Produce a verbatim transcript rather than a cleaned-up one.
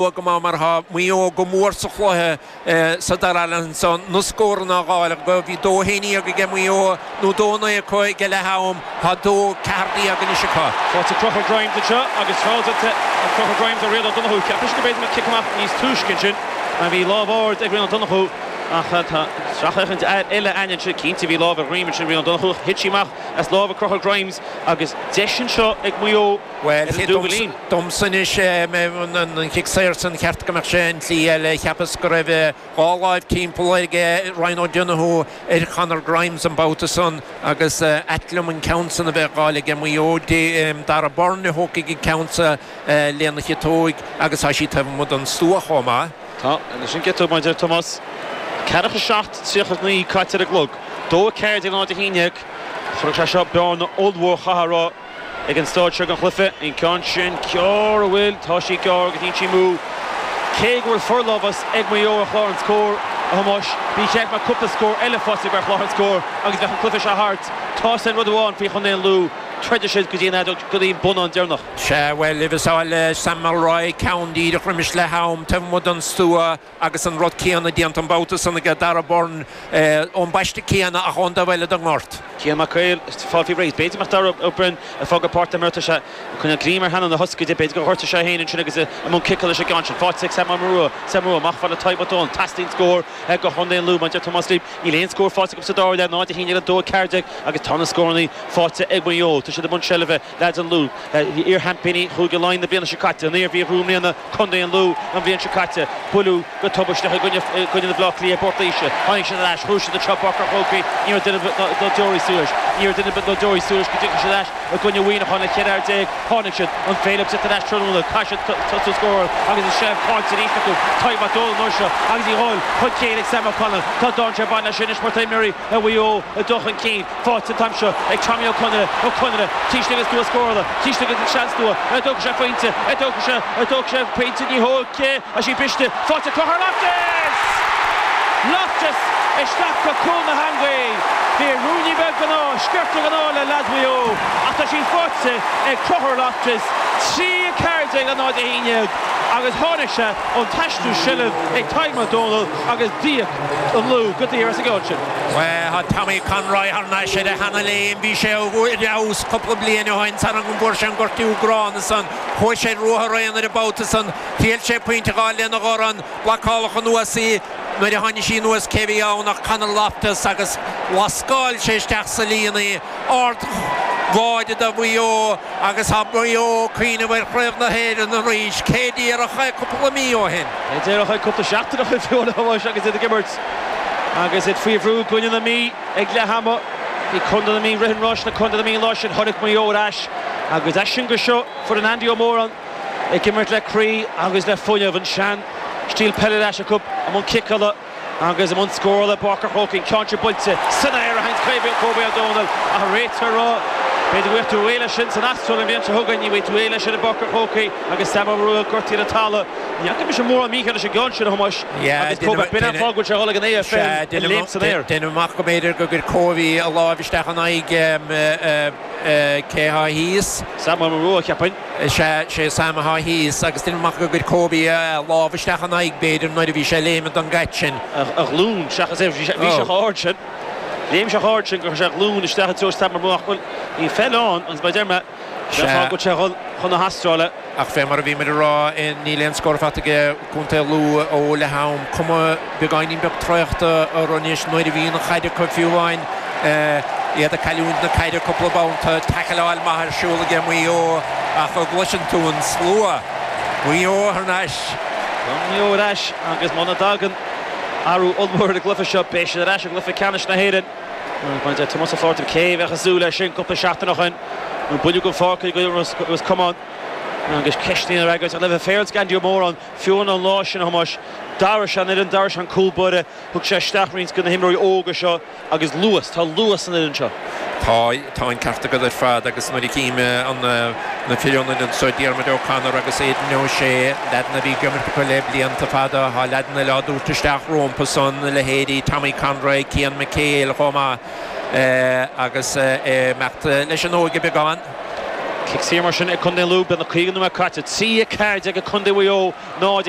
Go maith mar tá Maigh Eo go mór sa chluiche sa dara leath ansan, na scóranna a dh'fháil acu. Bhí dó a haon déag aige Maigh Eo nó dó a naoi acu ag leath am, tá dó ceathair déag anois acu. Faighte Conchúr Grimes anseo agus feall déanta ag Conchúr Grimes ar Rian Ó Donnchú. Cheap mise go mb'fhéidir go mbeadh cic amach níos túisce ansin mar bhí lámh ard ag Rian Ó Donnchú ach tá sracfhéachaint eile againn ansin. Cinnte bhí lámh ar dhroim ansin Rian Ó Donnchú. Thit sí amach as lámha Conchúr Grimes agus deis anseo ag Maigh Eo Bhuel, domsa anois, an chic saor san, cheart go mbeadh sé an tslí eile. Cheapas go raibh dhá láimh timpeall aige Ryan O'Donoghue ar Chonor Grimes an babhta san agus ait liom an ceann san a bheith á fháil aige Maigh Eo. Darragh Beirne a thógfaidh an ceann sa lena chiotóig agus tá sí taobh amuigh den stua chomh maith. Tá, leis an gciotóg, mar a deir Tomás. Ceathracha seacht, tríocha naoi caite ar an gclog. Dó a ceathair déag náid a haon déag. Chuirfeadh sé seo bearna ollmhór, chaithfeá a rá, ag an staid seo den chluiche. An ceann sin gearr, an bhfuil? Tá sí gearr agus níl sí amú. Cé go bhfuil forlámhas ag Maigh Eo ar chlár an scóir, a Thomáis, ba cheart go mbeadh cúpla scór eile faighte acu ar chlár an scóir agus bheadh an cluiche seo thart. Tá sin rud amháin faoi chontae an Lú, troidfidh siad go dtí an go dtí an bonnán deireanach. Sea, bhuel, bhí Sam Mulroy ceann díreach roimis leath am, taobh amuigh den stua agus an rud céanna déanta an babhta san aige Darragh Beirne ón bpaiste céanna ach ón dtaobh eile den ngort. Cian Mac Cóil ag fáil faoi réir. B'fhéidir go mbeadh Darragh O'Brien ag fágáil páirc na himeartha sé ag coinneáil greim ar theannán a thoscaide. B'fhéidir gur ghortaigh sé féin ansin agus i mbun ciceála leis an gceann sin. Faighte ag Sam Rua. Sam Rua amach fad le Tadhg Mac Dónaill. Teastaíonn scór do chontae an Lú. Mar a deir Tomás Lee, níl aon scór faighte acu sa dara leath, náid a haon déag le dó a ceathair déag agus tá na scóranna faighte ag Maigh Eo. Tá siad i mbun seilbhe, leaids an Lú. Iar-sheaimpíní Chúige Laighean na bliana seo caite, an Iarmhí a ghnóthaigh i mbliana, contae an Lú an bhliain seo caite. Buaileadh go tubaisteach i gcoinne na Bhaile Átha Cliath i bPort Laoise. Tháinig siad ar ais, ghnóthaigh siad anseo i bPáirc an Chrócaigh. Ní raibh duine ar bith dá dtiúrfaí suas. Ní raibh duine ar bith dá dtiúrfaí suas go dtiocfadh siad ar ais i gcoinne Mhuineacháin le ceithre fhear déag. Tháinig siad, an féidir leo teacht ar ais tráthnóna? Caithfidh siad tosú ag scóráil agus an seilbh caillte arís acu. Tadhg Mac Dónaill an uair seo agus í dhul chun cinn ag Sam O'Connell. Tá dainséar ag baint leis sin anois mar tá imreoirí Mhaigh Eo ag dul chun cinn. Faighte an t-am seo ag Tommy Ó Conaire. Ó Conaire, taobh istigh den stua scórála, taobh istigh den seanstua. An dtógfaidh sé pointe? An dtógfaidh sé? An dtógfaidh sé pointe? Ní thógfaidh. Tá sí briste. Faighte Conchúr Loftus! Loftus isteach go cúl na heangaí. Bhí ruainnín beag den ádh, sciorta den ádh le leaids Mhaigh Eo ach tá sí faighte ag Conchúr Loftus. Trí a ceathair déag le náid a haon déag agus tháinig sé ón t-aistriú seilbh ag Tadhg Mac Dónaill agus d'íoc an Lú go daor as an gceann sin. Bhuel, tá Tommy Conroy thar n-ais ar a sheana-léim. Bhí sé ar fheabhas cúpla bliain ó shin sara bhfuair sé an gortú gránna san. Chuaigh sé ar ruathar aonair an babhta san. Thriail sé pointe a dh'fháil lena dhorn. Blocáladh anuas í. Nuair a tháinig sí anuas cé bhí ann ach Conor Loftus agus lascáil sé isteach sa líon í. Ard-bháide do Mhaigh Eo agus tá Maigh Eo ag cuimhneamh ar Chraobh na hÉireann arís, cé déarfadh é cúpla mí ó shin. Cé déarfadh é cúpla seachtain ó shin fiú a Thomáis agus iad ag imirt agus iad faoi bhrú i gcoinne na Mí ag leath ama. Bhí contae na Mí rith an ráis le contae na Mí an lá sin. Tháinig Maigh Eo ar ais agus as sin go seo foireann Andy Ó Móráin ag imirt le croí agus le fuinneamh. An sean stíl peile ar ais acu i mbun ciceála agus i mbun scórála i bPáirc an Chrócaigh. An ceann seo buailte san aer a thagann Kobe Ó Dónaill ach an réiteoir ag rá b'fhéidir go bhfaighidh tú réidh leis sin san Astráil an bhliain seo chugainn. Ní bhfaighidh tú réidh leis sin i bPáirc an Chrócaigh agus Sam Ó Rua gortaithe ar an talamh. Ní fhaca mise mórán mícheart leis an gceann sin, a Thomáis, agus Kobe, b'in an fáth go bhfuil sé ag dul ag an AFL, ag léim san aer. Déanaim amach go mb'fhéidir gur chuir Kobe a láimh isteach in aghaidh cé thá thíos. Sam Ó Rua, cheapfainn. Sea, sé Sam athá thíos agus déanaim amach gur chuir Kobe a lámh isteach ina aghaidh, b'fhéidir, nuair a bhí sé ag léimeadh don gcaid sin. A ghlúin seachas é, bhí sé chomh hard sin. Léim sé chomh hard sin gur chuir sé a ghlúin isteach i dtreo Sam Ó Rua ach, bhuel, bhí feil ann agus mar a deir mé, b'in an fáth go bhfuil sé ag dul chun na hAstráile. Ach fé mar a bhíomar ag rá, níl aon scór faighte aige Contae Lú ó leath am. Cuma beagáinín beag traochta orthu anois nuair a bhíonn an chaid acu fiú amháin. Iad ag cailliúint na caide cúpla babhta. Taicealáil maith ar siúl aige Maigh Eo ach an gcloiseann tú an slua. Maigh Eo thar n-ais. Tá Maigh Eo ar ais agus muna dtagann athrú ollmhór ar an gcluiche seo beidh siad ar ais i gcluiche ceannais na hÉireann. Mar a deir Tomás Ó Flatharta, cé a bheadh ag súil leis sin cúpla seachtain ó shin nuair a buaileadh den pháirc i gcoinne Ros Comáin agus ceisteanna á fhreagairt. Ach le bheith féaráilte d'Andy Ó Móráin, fiú an lá sin, a Thomáis, d'athraigh sé an fhoireann, d'athraigh sé an cúl báire, thug sé isteach roinnt de na himreoirí óga seo agus luas, tá luas san fhoireann seo. Tá, tá an ceart agat ar fad agus nuair a chím an, na fir ionaid anso, Diarmuid O'Connor agus Aidan O'Shea, leaideanna a bhí ag imirt acu le blianta fada, tá leaideanna eile á dtabhairt isteach rompu san, leithéidí Tommy Conroy, Cian McHale chomh maith agus ag imeacht leis an óige beagán. Cic saor mar sin ag Contae Lú beagnach caoga nóiméad caite trí ceathair ag Contae Mhaigh Eo ná